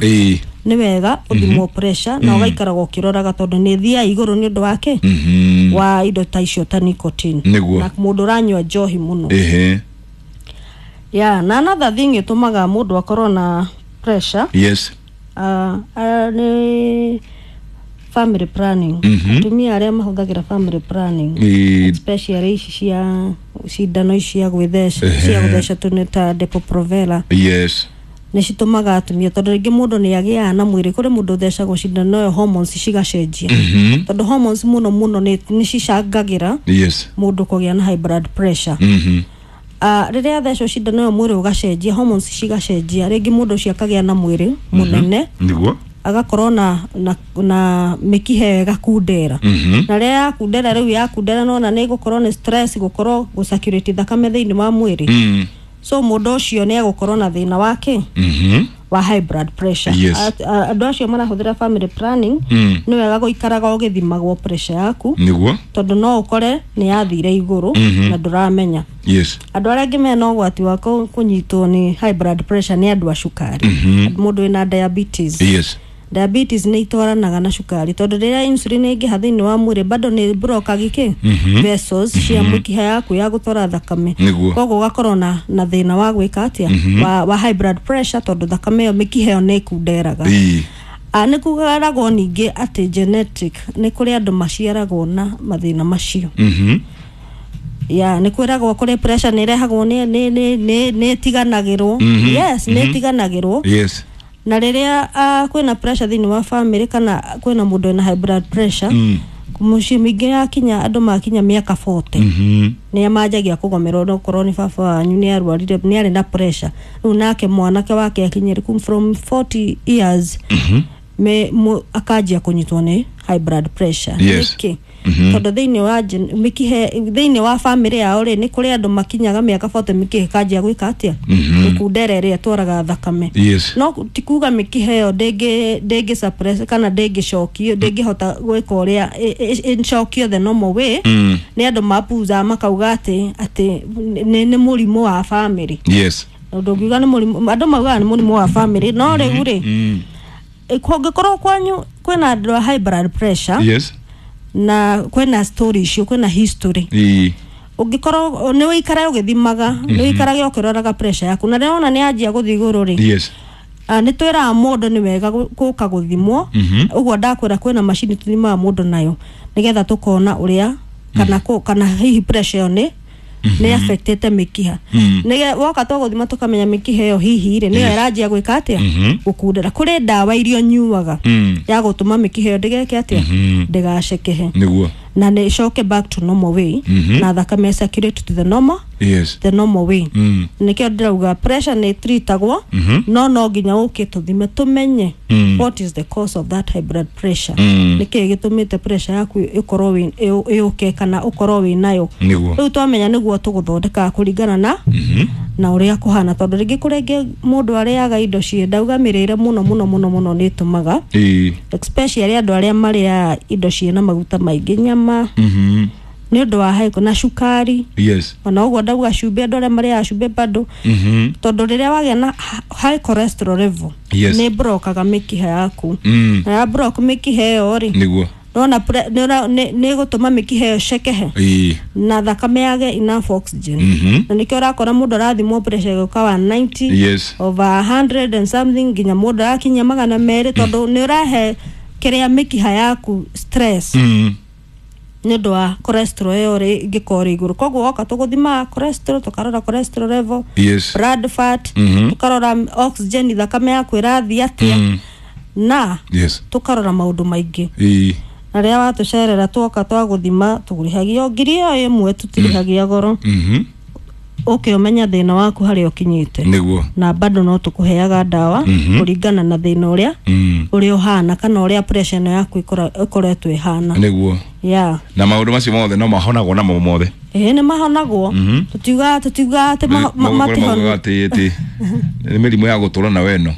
Ĩĩ. Nĩ wega ũthimwo pressure na ũgaikaraga ũkĩroraga, tondũ nĩ ĩthiaga igũrũ nĩ ũndũ wake wa indo ta icio ta nicotine na mũndũ ũranyua njohi mũno. Yeah, na another thing ĩtũmaga mũndũ akorwo na pressure nĩ family planning. Atumia arĩa mahũthagĩra family planning, especially ici cia cindano ici cia gwĩtheca, cia gũtheca tu, nĩ ta Depo-Provera, nĩ citũmaga atumia, tondũ rĩngĩ mũndũ nĩ agĩaga na mwĩrĩ, kũrĩ mũndũ ũthecagwo cindano ĩyo, hormones cigacenjia, tondũ hormones mũno mũno nĩ cicangagĩra mũndũ kũgĩa na high blood pressure. Rĩrĩa athecwo cindano ĩyo, mwĩrĩ ũgacenjia, hormones cigacenjia, rĩngĩ mũndũ ũcio akagĩa na mwĩrĩ mũnene, agakorwo na mĩkiha ĩyo ĩgakundera. Na rĩrĩa yakundera, rĩu yakundera, nona nĩ gũkorwo nĩ stress gũkorwo gũcirculate thakame thĩinĩ wa mwĩrĩ. So mũndũ ũcio nĩ egũkorwo na thĩna wake wa high blood pressure. Andũ acio marahũthĩra family planning, nĩ wega gũikaraga ũgĩthimagwo pressure yaku, tondũ no ũkore nĩ yathire igũrũ na ndũramenya. Andũ arĩa angĩ mena ũgwati wa kũnyitwo nĩ high blood pressure nĩ andũ a cukari, mũndũ wĩna diabetes. Diabetes nĩ itwaranaga na cukari, tondũ rĩrĩa insulin ĩngĩha thĩinĩ wa mwĩrĩ, bado nĩ blockagi kĩ vessels cia mĩkiha yaku ya gũtwara thakame. Koguo ũgakorwo na thĩna wa gwĩka atĩa, wa high blood pressure, tondũ thakame ĩyo, mĩkiha ĩyo nĩ ĩkunderaga. Nĩ kugaragwo ningĩ atĩ genetic, nĩ kũrĩ andũ maciaragwo na mathĩna macio. Ya, nĩ kwĩragwo kũrĩ pressure nĩ ĩrehagwo nĩ ĩtiganagĩrwo. Yes, nĩ ĩtiganagĩrwo. Na rĩrĩa kwĩna pressure thĩinĩ wa family kana kwĩna mũndũ wĩna high blood pressure, mũciĩ mĩingĩ yakinya andũ makinya mĩaka 40, nĩ manjagia kũgomerwo, no korwo nĩ baba wanyu nĩ arwarire, nĩ arĩ na pressure, rĩu nake mwanake wake akinyire from 40 years, akanjia kũnyitwo nĩ high blood pressure. Nĩkĩ? Tondũ thĩinĩ wa mĩkihe thĩinĩ wa family yao rĩ, nĩ kũrĩ andũ makinyaga mĩaka 40, mĩkiha ĩkanjia gwĩka atĩa? Gũkundera ĩrĩa ĩtwaraga thakame. No ti kuga mĩkiha ĩyo ndĩngĩ suppress kana ndĩngĩcokio, ndĩngĩhota gwĩka ũrĩa ĩcokio the normal way. Nĩ andũ mapuza makauga atĩ nĩ mũrimũ wa family. Ũndũ ũngiuga nĩ mũrimũ, andũ maugaga nĩ mũrimũ wa family, no rĩu rĩ, kũngĩkorwo kwanyu kwĩna andũ a high blood pressure na kwĩna story icio, kwĩna history, ũngĩkorwo nĩ ũikare ũgĩthimaga, nĩ ũikarage ũkĩroraga pressure yaku, na rĩrĩa wona nĩ yanjia gũthiĩ igũrũ rĩ, nĩ twĩraga mũndũ nĩ wega gũka gũthimwo. Ũguo ndakwĩra, kwĩna macini tũthimaga mũndũ nayo nĩgetha tũkona ũrĩa kana hihi pressure ĩyo nĩ affectĩte mĩkiha. Nĩge woka twagũthima, tũkamenya mĩkiha ĩyo hihi rĩ, nĩyo ĩranjia gwĩka atĩa? Gũkundera. Kũrĩ ndawa iria ũnyuaga ya gũtũma mĩkiha ĩyo ndĩgeke atĩa? Ndĩgacekehe na nĩ ĩcoke back to normal way, na thakame circulate to the normal the normal way. Nĩkĩo ndĩrauga pressure nĩ treatagwo, no nginya ũke tũthime tũmenye what is the cause of that high blood pressure, nĩkĩĩ gĩtũmĩte pressure yaku ĩkorwo ĩũke kana ũkorwo wĩ nayo. Rĩu twamenya nĩguo tũgũthondeka kũringana na ũrĩa kũhana, tondũ rĩngĩ kũrĩ rĩngĩ mũndũ arĩaga indo ciĩ, ndauga mĩrĩre mũno mũno mũno mũno nĩ ĩtũmaga, especially andũ arĩa marĩaga indo ciĩna maguta maingĩ, nyama, nĩ ũndũ wa high na cukari. Ona ũguo ndauga cumbĩ, andũ arĩa marĩaga cumbĩ bado, tondũ rĩrĩa wagĩa na high cholesterol level, nĩ blokaga mĩkiha yaku, na ya block mĩkiha ĩyo rĩ, nona nĩ ĩgũtũma mĩkiha ĩyo ĩcekehe na thakame yage enough oxygen. Na nĩkĩo ũrakora mũndũ arathimwo pressure ĩgĩũka 190 over 100 and something, nginya mũndũ arakinyia 200, tondũ nĩ ũrahe kĩrĩa mĩkiha yaku stress nĩ ũndũ wa cholesterol ĩyo rĩ ĩngĩkorwo ĩrĩ igũrũ. Koguo woka tũgũthimaga cholesterol, tũkarora cholesterol level, blood fat, tũkarora oxygen, thakame yaku ĩrathiĩ atĩa, na tũkarora maũndũ maingĩ. Na rĩrĩa watũcerera, twoka twagũthima, tũrĩhagia o 1000, tũtirĩhagia goro. Ũke ũmenya thĩna waku harĩa ũkinyĩte. Na bado no tũkũheaga ndawa kũringana na thĩna ũrĩa ũrĩa ũhana kana ũrĩa pressure ĩno yaku ĩkoretwo ĩhana. Yeah. Na maũndũ macio mothe no mahonagwo namo mothe? Ĩĩ, nĩ mahonagwo. Tũtiugaga atĩ maugaga matihonwo. Atĩ nĩ mĩrimũ ya gũtũra na weno.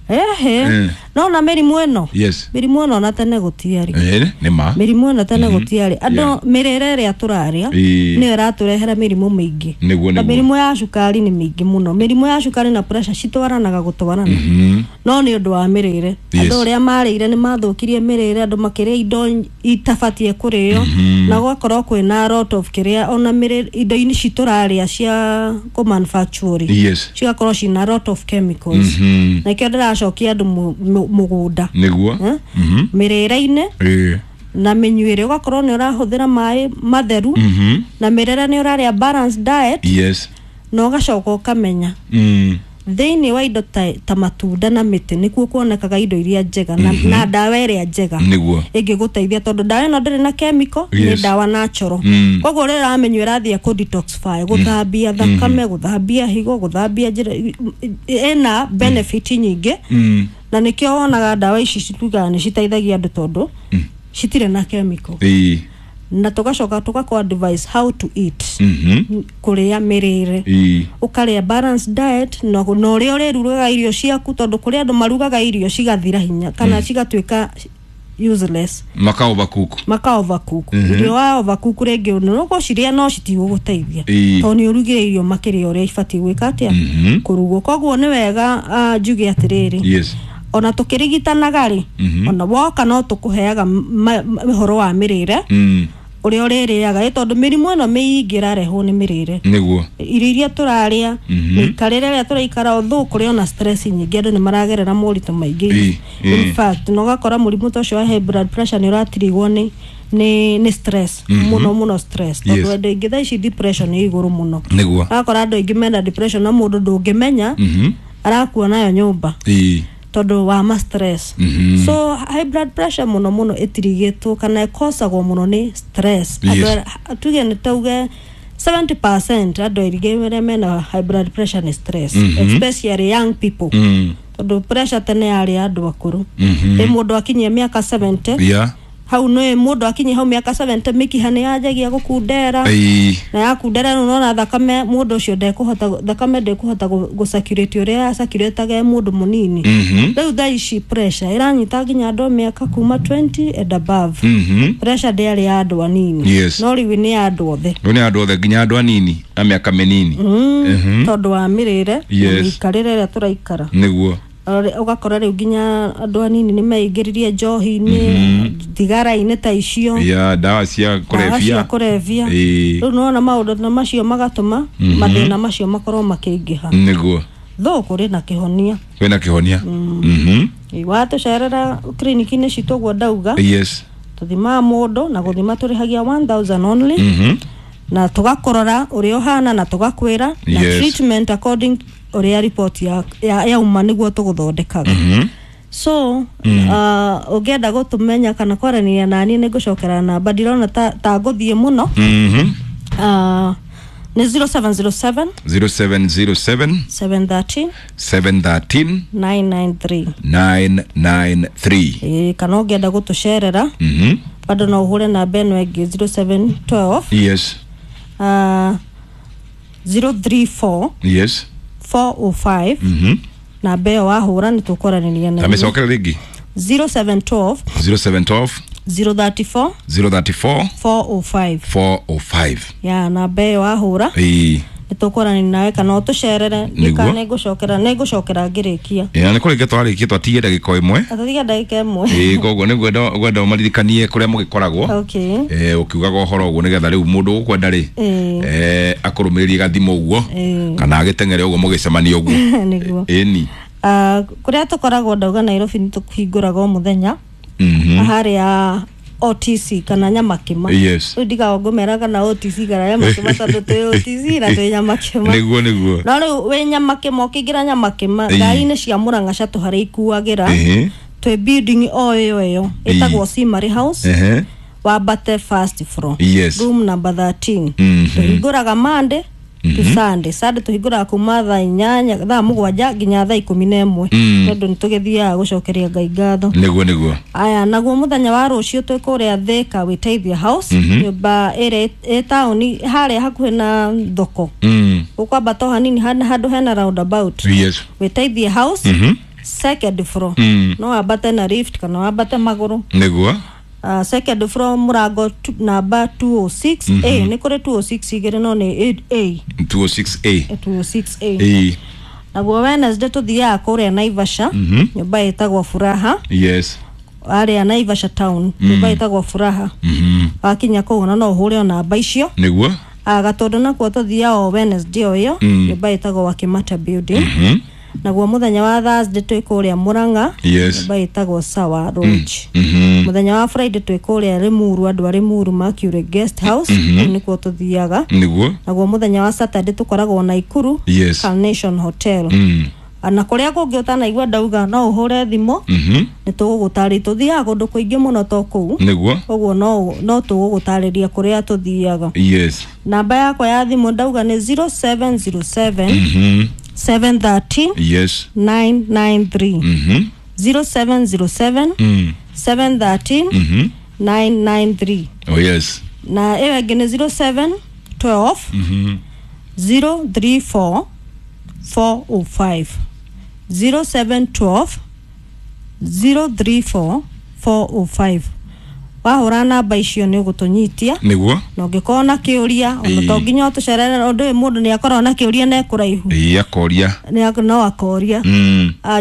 Ehe. No na mĩrimũ ĩno, Yes. mĩrimũ ĩno ona tene gũtiarĩ. Nĩ ma. Mĩrimũ ĩno tene gũtiarĩ. Andũ mĩrĩre ĩrĩa tũrarĩa nĩyo ĩratũrehera mĩrimũ mĩingĩ. Nĩguo, Na nĩguo. mĩrimũ ya cukari nĩ mĩingĩ mũno. Mĩrimũ ya cukari na pressure citwaranaga gũtwarana. No nĩ ũndũ wa mĩrĩre. Andũ ũrĩa marĩire nĩ mathũkirie mĩrĩre, andũ makĩrĩa indo itabatiĩ kũrĩo, na gũgakorwo kwĩna lot of kĩrĩa ona mĩrĩ indo-inĩ ici tũrarĩa cia kũ manufacture cigakorwo cina lot of chemicals. Na ikĩo ndĩracokia andũ mũgũnda. Nĩguo. Eh? Mĩrĩre-inĩ na mĩnyuĩre, ũgakorwo nĩ ũrahũthĩra maĩ matheru, na mĩrĩre nĩ ũrarĩa balanced diet, na ũgacoka ũkamenya thĩinĩ wa indo ta matunda na mĩtĩ nĩkuo kuonekaga indo iria njega na ndawa ĩrĩa njega Nĩguo. ĩngĩgũteithia, tondũ ndawa ĩno ndĩrĩ na chemical, nĩ ndawa natural. Koguo rĩrĩa ũramĩnyua ĩrathiĩ kũ detoxify, gũthambia thakame, gũthambia higo, gũthambia njĩra, ĩna benefit nyingĩ. Na nĩkĩo wonaga ndawa ici citugaga nĩ citeithagia andũ, tondũ citirĩ na chemical. Na tũgacoka tũgakũ advise how to eat, kũrĩa mĩrĩre, ũkarĩa balanced diet, na ũrĩa ũrĩrugaga irio ciaku, tondũ kũrĩ andũ marugaga irio cigathira hinya kana cigatuĩka useless. Maka overcook. Maka overcook. Irio wa overcook rĩngĩ nĩũgũcirĩa no citigũgũteithia, tondũ nĩ ũrugire irio makĩria ũrĩa ibatiĩ gwĩka atĩa, kũrugwo. Koguo nĩ wega njuge atĩrĩrĩ, ona tũkĩrigitanaga rĩ, ona woka no tũkũheaga ũhoro wa mĩrĩre, ũrĩa ũrĩrĩaga, ĩ tondũ mĩrimũ ĩno mĩingĩ ĩrarehwo nĩ mĩrĩre, Nĩguo. irio iria tũrarĩa, mĩikarĩre ĩrĩa tũraikara. Although kũrĩ ona stress nyingĩ, andũ nĩ maragerera moritũ maingĩ. In fact, na ũgakora mũrimũ ta ũcio wa high blood pressure nĩ ũratirigwo nĩ stress mũno mũno, stress, tondũ andũ aingĩ thaa ici depression nĩ igũrũ mũno. Nĩguo. Ũgakora andũ aingĩ mena depression na mũndũ ndũngĩmenya arakua nayo nyũmba tondũ wa ma stress. So high blood pressure mũno mũno ĩtirigĩtwo kana ĩkosagwo mũno nĩ stress. Andũ tuge nĩ tauge 70% andũ aingĩ arĩa mena high blood pressure nĩ stress, especially young people, tondũ pressure tene yarĩ ya andũ akũrũ. Ĩ mũndũ akinyia mĩaka 70, hau nĩ mũndũ akinyia hau mĩaka 70, mĩkiha nĩ yanjagia gũkundera, na yakundera rĩu nona thakame mũndũ ũcio ndekũhota, thakame ndĩkũhota gũ circulate ũrĩa yacirculataga ĩ mũndũ mũnini. Rĩu thaa ici pressure ĩranyita nginya andũ a mĩaka kuma 20 and above. Pressure ndĩarĩ ya andũ anini, no rĩu nĩ ya andũ othe. Rĩu nĩ andũ othe, nginya andũ anini a mĩaka mĩnini. Tondũ wa mĩrĩre na mĩikarĩre ĩrĩa tũraikara. Nĩguo. Ũgakora rĩu nginya andũ anini nĩ meingĩririe njohi-inĩ, thigara-inĩ ta icio, ya ndawa cia ndawa cia kũrebia. kũrebia. Rĩu nĩwona maũndũ ta macio magatũma mathĩna macio makorwo makĩingĩha. Nĩguo. Though kũrĩ na kĩhonia. Kwĩna kĩhonia. Watũcerera kiriniki-inĩ citũ ũguo ndauga, tũthimaga mũndũ, na gũthima tũrĩhagia 1000 only, na tũgakũrora ũrĩa ũhana na tũgakwĩra na treatment according ũrĩa report yauma nĩguo tũgũthondekaga. So ũngĩenda gũtũmenya kana kwaranĩria naniĩ, nĩ ngũcokera namba, ndirona ta ngũthiĩ mũno. Nĩ 0707 0707 713 713 993. 993. Ĩĩ, kana ũngĩenda gũtũcerera bado no ũhũre namba ĩno ĩngĩ, 0712 034 405. Namba ĩyo wahũra nĩ tũkwaranĩria na Ta mĩcokere rĩngĩ. 0712 0712 034 034 405. 405. Ya, namba ĩyo wahũra nĩ tũkwaranĩria nawe kana ũtũcerere. Nĩguo. Nĩ ngũcokera ngĩrĩkia. Ĩ, na nĩ kũrĩkia twarĩkia, twatigie ndagĩka ĩmwe. Atatiga ndagĩka ĩmwe. Ĩ, koguo nĩ ngwenda ũmaririkanie kũrĩa mũgĩkoragwo. Ũkiugaga ũhoro ũguo nĩgetha rĩu mũndũ ũkwenda rĩ, akũrũmĩrĩrie gathimũ ũguo kana agĩteng'ere ũguo mũgĩcemania ũguo. Nĩguo. Ĩni. Ah, kũrĩa tũkoragwo ndauga Nairobi nĩ tũhingũraga o mũthenya, harĩa OTC kana Nyamakĩma. Rĩu ndigaga ngũmera kana OTC kana Nyamakĩma, tondũ twĩ OTC na twĩ Nyamakĩma. Nĩguo. No rĩu wĩ Nyamakĩma, ũkĩingĩra Nyamakĩma, ngari-inĩ cia Mũrang'a cia tũharĩa ikuagĩra, twĩ building o ĩyo ĩtagwo Simari House, wambate first floor, room number 13. Tũhingũraga Monday to Sunday. Sunday tũhingũraga kuma thaa 8, thaa 7 nginya thaa 11, tondũ nĩ tũgĩthiaga gũcokeria Ngai ngatho. Nĩguo. Aya, naguo mũthenya wa rũciũ twĩ kũrĩa Thika, Wĩteithia House, nyũmba ĩrĩa ĩ taũni harĩa hakuhĩ na thoko, ũkwambata o hanini handũ hena roundabout. Wĩteithie House. Second floor. No wambate na lift kana wambate magũrũ. Nĩguo. Second floor mũrango namba 206 A. Nĩ kũrĩ 206 igĩrĩ no nĩ A. 206A. 206A. Ĩĩ. Naguo Wednesday tũthiaga kũrĩa Naivasha, nyũmba ĩtagwo Furaha. Yes. Arĩa Naivasha town, nyũmba ĩtagwo Furaha. Wakinya kũu ona no ũhũre o namba icio. Nĩguo. Gatũndũ nakuo tũthiaga o Wednesday o ĩyo, nyũmba ĩtagwo Wakimata building. Naguo mũthenya wa Thursday twĩ kũrĩa Mũrang'a, nyũmba ĩtagwo Sawa Lodge. Mũthenya wa Friday twĩ kũrĩa Limuru, andũ a Limuru Mercury Guest House, kũu nĩkuo tũthiaga. Nĩguo. Naguo mũthenya wa Saturday tũkoragwo Naikuru, Carnation Hotel. Na kũrĩa kũngĩ ũtanaigua ndauga no ũhũre thimũ, nĩ tũgũgũtarĩria. Tũthiaga kũndũ kũingĩ mũno to kũu. Nĩguo. Ũguo no tũgũgũtarĩria kũrĩa tũthiaga. Yes. Namba yakwa ya thimũ ndauga nĩ 0707 713 Yes. 993. 0707 713 993. Oh yes. Na ĩyo ĩngĩ nĩ 0712 034 405. 0712 034 405. Wahũra namba icio nĩ ũgũtũnyitia. Nĩguo. Na ũngĩkorwo na kĩũria ona to nginya ũtũcerere, ũndũ ũyũ mũndũ nĩ akoragwo na kĩũria na ekũraihu. Ĩĩ, akoria. No akoria.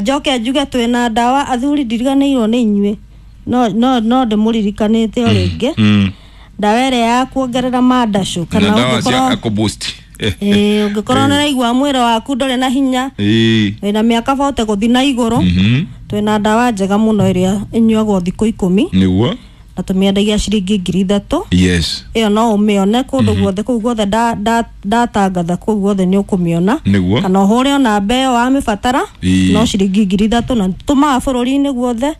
Njoke njuge twĩna ndawa athuri, ndiriganĩirwo nĩ inyuĩ, no ndĩmũririkanĩte o rĩngĩ. Ndawa ĩrĩa ya kuongerera mandacũ kana kana ndawa cia ũngĩkorwo kũboost. Ĩĩ, ũngĩkorwo nĩ ũraigua mwĩrĩ waku ndũrĩ na hinya, Ĩĩ. wĩna mĩaka bote gũthiĩ na igũrũ, twĩna ndawa njega mũno ĩrĩa ĩnyuagwo thikũ 10. Nĩguo. Na tũmĩendagia ciringi 3,000. Yes. Ĩyo no ũmĩone kũndũ guothe, kũu guothe ndatangatha, kũu guothe nĩ ũkũmĩona. Nĩguo. Kana ũhũre o namba ĩyo wamĩbatara. Ĩĩ. No ciringi 3,000 na tũmaga bũrũri-inĩ guothe.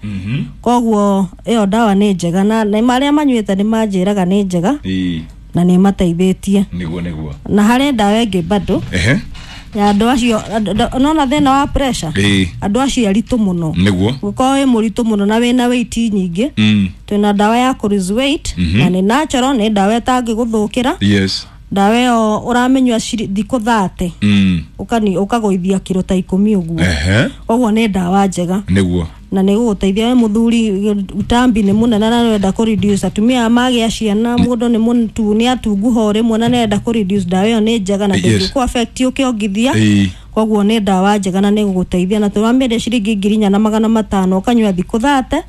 Koguo ĩyo ndawa nĩ njega na arĩa manyuĩte nĩ manjĩraga nĩ njega. Ĩĩ. Na nĩ ĩmateithĩtie. Nĩguo nĩguo. Na harĩ ndawa ĩngĩ bado Ehe. ya andũ acio nona thĩna wa pressure, Ĩĩ. andũ acio aritũ mũno. Nĩguo. Ũngĩkorwo wĩ mũritũ mũno na wĩna weight nyingĩ, twĩna ndawa ya kũ lose weight na nĩ natural, nĩ ndawa ĩtangĩgũthũkĩra. Yes. Ndawa ĩyo ũramĩnyua thikũ 30, ũkagũithia kiro ta 10 ũguo. Ehe. Koguo nĩ ndawa njega. Nĩguo. Na nĩ gũgũteithia we mũthuri, utambi nĩ mũnene na nĩũrenda kũ reduce. Atumia aya magĩa ciana, mũndũ nĩ mũtu nĩ atunguha o rĩmwe na nĩarenda kũ reduce, ndawa ĩyo nĩ njega na ndĩngĩkũ affect ũkĩongithia. Ĩĩ. Koguo nĩ ndawa njega na nĩ gũgũteithia, na tũramĩendia ciringi 4,500, ũkanyua thikũ 30,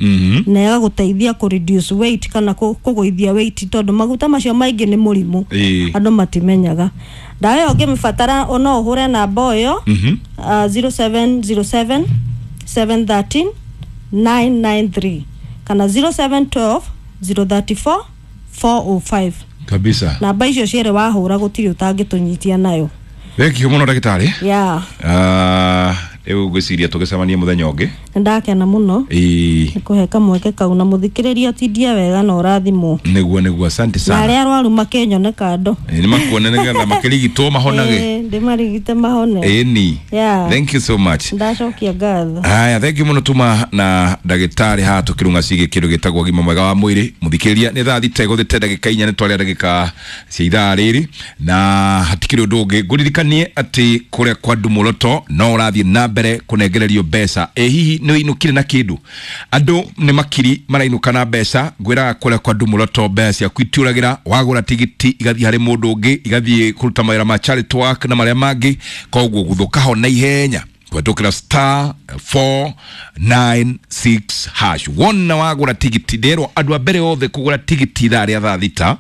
na ĩgagũteithia kũ reduce weight kana kũgũithia weight, tondũ maguta macio maingĩ nĩ mũrimũ. Ĩĩ. Andũ matimenyaga. Ndawa ĩyo ũngĩmĩbatara no ũhũre namba ĩyo, 0707 713 993 kana 0712 034 405. Kabisa. Namba icio cierĩ wahũra gũtirĩ ũtangĩtũnyitia nayo. Thengio mũno ndagĩtarĩ. Ya. Rĩu ngwĩciria tũgĩcemanie mũthenya ũngĩ. Nĩ ndakena mũno Ĩĩ. nĩ kũhe kamweke kau, na mũthikĩrĩria tindie wega na ũrathimwo. Nĩguo nĩguo, asante Na sana. arĩa arwaru makĩnyone kando. Ĩĩ, nĩ makuone nĩgetha makĩrigitwo mahonage. Ĩĩ, ndĩmarigite mahone. Ĩni. Yeah. Thank you so much. Ndacokia ngatho. Haya, thank you muno tuma na ndagĩtarĩ haha tũkĩrũnga ciĩgiĩ kĩndũ gĩtagwo ũgima mwega wa mwĩrĩ. Mũthikĩrĩria, nĩ thaa thita ĩgũthĩte ndagĩka 4, nĩ twarĩa ndagĩka cia ithaa rĩrĩ, na hatikĩrĩ ũndũ ũngĩ ngũririkanie atĩ kũrĩa kwa Ndumũroto no ũrathiĩ na mbere kũnengererio mbeca. Ĩ hihi nĩ ũinũkire na kĩndũ? Andũ nĩ makiri marainũka na mbeca. Ngwĩraga kũrĩa kwa Ndumũroto mbeca ciaku itiũragĩra, wagũra tigiti igathiĩ harĩ mũndũ ũngĩ, igathiĩ kũruta mawĩra ma charity work na marĩa mangĩ. Koguo gũthũka ho na ihenya kũhetũkĩra star 496 hash. Wona wagũra tigiti, nderwo andũ a mbere othe kũgũra tigiti ithaa rĩa thaa thita,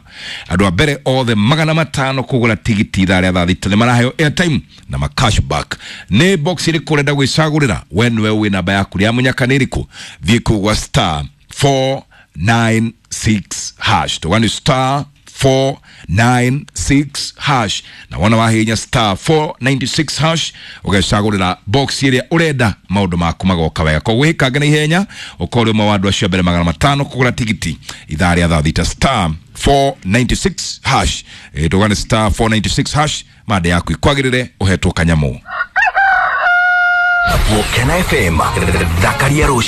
andũ a mbere othe 500 kũgũra tigiti ithaa rĩa thaa thita nĩ maraheo airtime na ma cashback. Nĩ box ĩrĩkũ ũrenda gwĩcagũrĩra? We nĩwe wĩ namba yaku ya mũnyaka nĩ ĩrĩkũ? Thiĩ kũu gwa star 496 hash, tũgani star 496 hash, na wona wahinya star 496 hash ũgecagũrĩra box ĩrĩa ũrenda, maũndũ maku magoka wega. Koguo wĩkange na ihenya ũkorwo ũmwe wa andũ acio a mbere 500 kũgũra tigiti ithaa rĩa thaa thita, star 496 hash. Tũgane star 496 hash, mande yaku ikwagĩrĩre ũhetwo kanyamũ. Gũkena FM thakaria rũciũ.